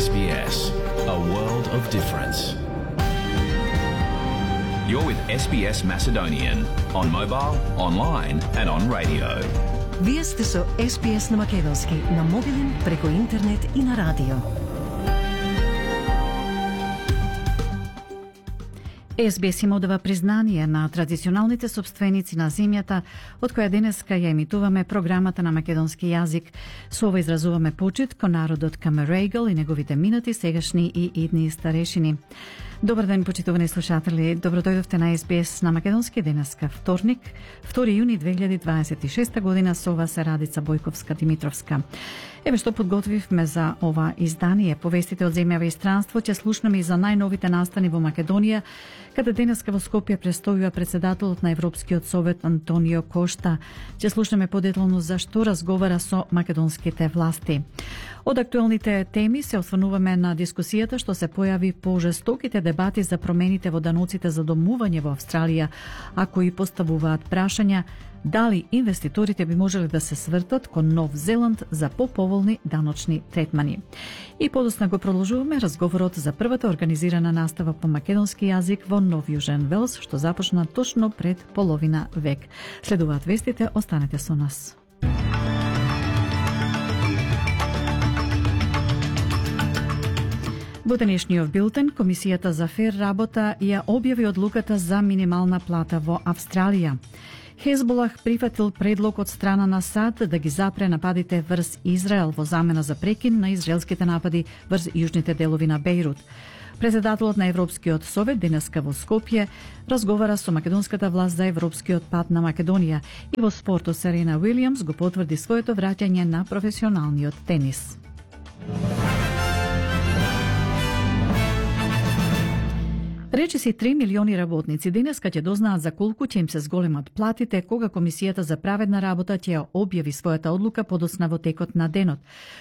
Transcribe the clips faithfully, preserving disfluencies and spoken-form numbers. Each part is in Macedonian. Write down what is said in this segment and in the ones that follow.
S B S, a world of difference. You're with S B S Macedonian on mobile, online and on radio. Вие сте со С Б С на македонски, на мобилен, преку интернет и на радио. С Б С им одава признание на традиционалните собственици на земјата, од која денеска ја емитуваме програмата на македонски јазик. Со ова изразуваме почит кон народот Камерегал и неговите минати, сегашни и идни старешини. Добар ден, почитувани слушатели. Добро дојдовте на С Б С на македонски денеска, вторник, втори јуни две илјади дваесет и шеста година. Со ова се Радица Бојковска-Димитровска. Еве што подготвивме за ова издание. Повестите од земјава и странство, ќе слушнеме и за најновите настани во Македонија, каде денеска во Скопје престојува председателот на Европскиот совет Антонио Кошта. Ќе слушнеме подетално за што разговара со македонските власти. Од актуелните теми се осврнуваме на дискусијата што се појави по жестоките дебати за промените во даноците за домување во Австралија, а кои поставуваат прашања дали инвеститорите би можеле да се свртат кон Нов Зеланд за поповолни даночни третмани. И подосна го продолжуваме разговорот за првата организирана настава по македонски јазик во Нов Јужен Велс, што започна точно пред половина век. Следуваат вестите, останете со нас. Во денешниот билтен, Комисијата за фер работа ја објави одлуката за минимална плата во Австралија. Хезболах прифатил предлог од страна на САД да ги запре нападите врз Израел во замена за прекин на израелските напади врз јужните делови на Бејрут. Председателот на Европскиот совет денеска во Скопје разговара со македонската власт за европскиот пат на Македонија и во спортот Серена Уилјамс го потврди своето враќање на професионалниот тенис. Речиси три милиони работници денеска ќе дознаат за колку ќе им се зголемат платите кога Комисијата за праведна работа ќе објави својата одлука подоцна во текот на денот.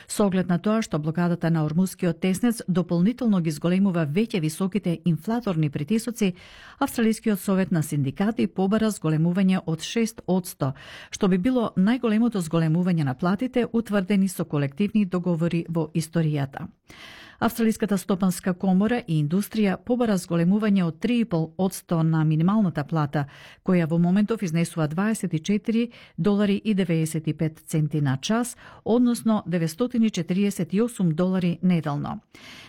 Со оглед на тоа што блокадата на Ормускиот теснец дополнително ги зголемува веќе високите инфлаторни притисоци, Австралискиот совет на синдикати побара зголемување од шест одсто, што би било најголемото зголемување на платите утврдени со колективни договори во историјата. Австралиската стопанска комора и индустрија побара зголемување од три и пол одсто на минималната плата, која во моментов изнесува дваесет и четири долари и деветдесет и пет центи на час, односно деветстотини четириесет и осум долари неделно.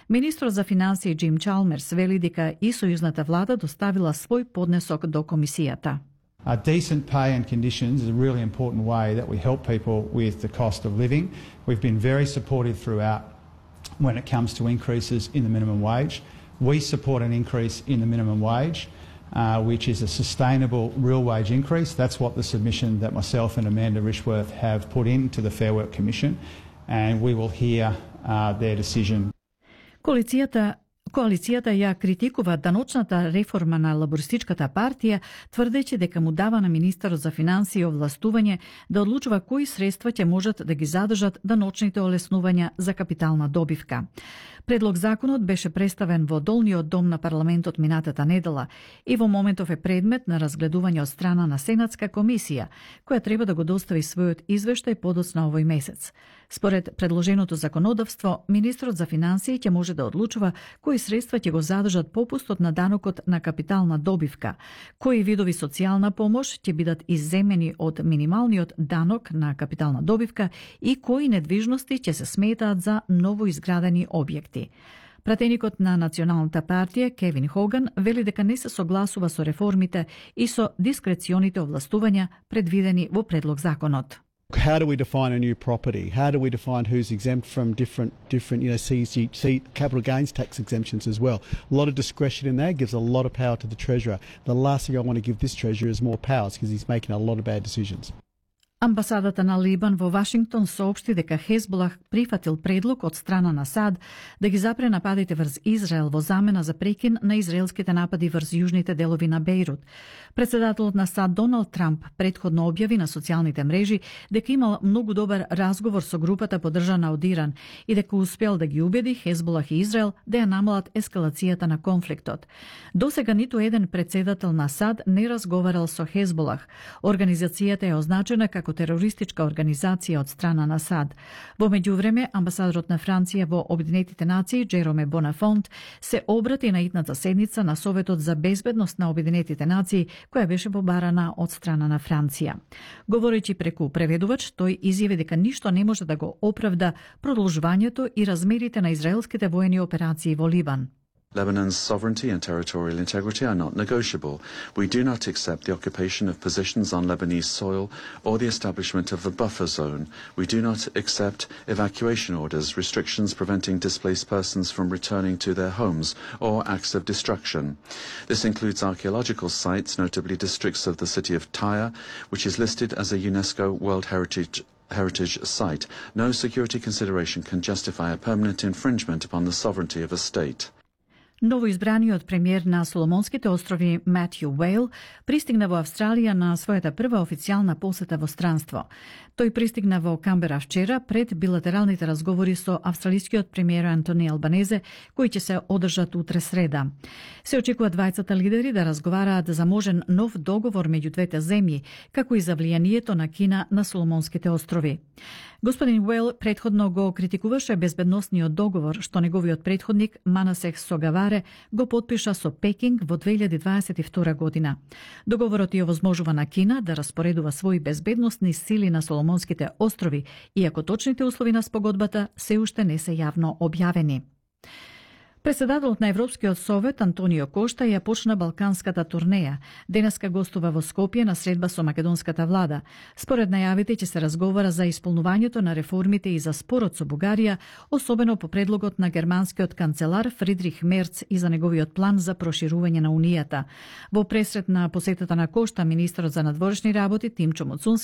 Министрот за финансии Джим Чалмерс вели дека и сојузната влада доставила свој поднесок до комисијата. Uh, decent pay and conditions is a really important way that we help people with the cost of living. We've been very supportive throughout when it comes to increases in the minimum wage. We support an increase in the minimum wage, uh, which is a sustainable real wage increase. That's what the submission that myself and Amanda Rishworth have put into the Fair Work Commission, and we will hear uh, their decision. Коалицијата Коалицијата ја критикува даночната реформа на Лабористичката партија, тврдејќи дека му дава на министерот за финансии овластување да одлучува кои средства ќе можат да ги задржат даночните олеснувања за капитална добивка. Предлог законот беше представен во долниот дом на парламентот минатата недела и во моментов е предмет на разгледување од страна на Сенатска комисија, која треба да го достави својот извештај подоцна овој месец. Според предложеното законодавство, министрот за финансии ќе може да одлучува кои средства ќе го задржат попустот на данокот на капитална добивка, кои видови социјална помош ќе бидат изземени од минималниот данок на капитална добивка и кои недвижности ќе се сметаат за новоизградени објекти. Пратеникот на Националната партија Кевин Хоган вели дека не се согласува со реформите и со дискреционите овластувања предвидени во предлог законот. How do we define a new property? How do we define who's exempt from different, different, you know, C G C, capital gains tax exemptions as well? A lot of discretion in there gives a lot of power to the Treasurer. The last thing I want to give this Treasurer is more powers because he's making a lot of bad decisions. Амбасадата на Либан во Вашингтон соопшти дека Хезболах прифатил предлог од страна на САД да ги запре нападите врз Израел во замена за прекин на израелските напади врз јужните делови на Бејрут. Председателот на САД Доналд Трамп претходно објави на социјалните мрежи дека имал многу добар разговор со групата поддржана од Иран и дека успел да ги убеди Хезболах и Израел да ја намалат ескалацијата на конфликтот. Досега ниту еден председател на САД не разговарал со Хезболах. Организацијата е означена како како терористичка организација од страна на САД. Во меѓувреме, амбасадорот на Франција во Обединетите нации, Джероме Бонафонт, се обрати на идната седница на Советот за безбедност на Обединетите нации, која беше побарана од страна на Франција. Говорејќи преку преведувач, тој изјави дека ништо не може да го оправда продолжувањето и размерите на израелските воени операции во Либан. Lebanon's sovereignty and territorial integrity are not negotiable. We do not accept the occupation of positions on Lebanese soil or the establishment of a buffer zone. We do not accept evacuation orders, restrictions preventing displaced persons from returning to their homes, or acts of destruction. This includes archaeological sites, notably districts of the city of Tyre, which is listed as a UNESCO World Heritage heritage site. No security consideration can justify a permanent infringement upon the sovereignty of a state. Новоизбраниот премиер на Соломонските острови Матју Уейл пристигна во Австралија на својата прва официјална посета во странство. Тој пристигна во Камбера вчера пред билатералните разговори со австралискиот премиер Антони Албанезе, кои ќе се одржат утре среда. Се очекува двајцата лидери да разговараат за можен нов договор меѓу двете земји, како и за влијанието на Кина на Соломонските острови. Господин Уейл претходно го критикуваше безбедносниот договор што неговиот претходник Манасех Согаваре го потпиша со Пекинг во две илјади дваесет и втора година. Договорот ја овозможува на Кина да распоредува своји безбедносни сили на Соломонските острови, иако точните услови на спогодбата се уште не се јавно објавени. Председателот на Европскиот совет Антонио Кошта ја почна балканската турнеја. Денеска гостува во Скопје на средба со македонската влада. Според најавите ќе се разговара за исполнувањето на реформите и за спорот со Бугарија, особено по предлогот на германскиот канцелар Фридрих Мерц и за неговиот план за проширување на Унијата. Во пресрет на посетата на Кошта, министерот за надворешни работи Тимчо Муцунски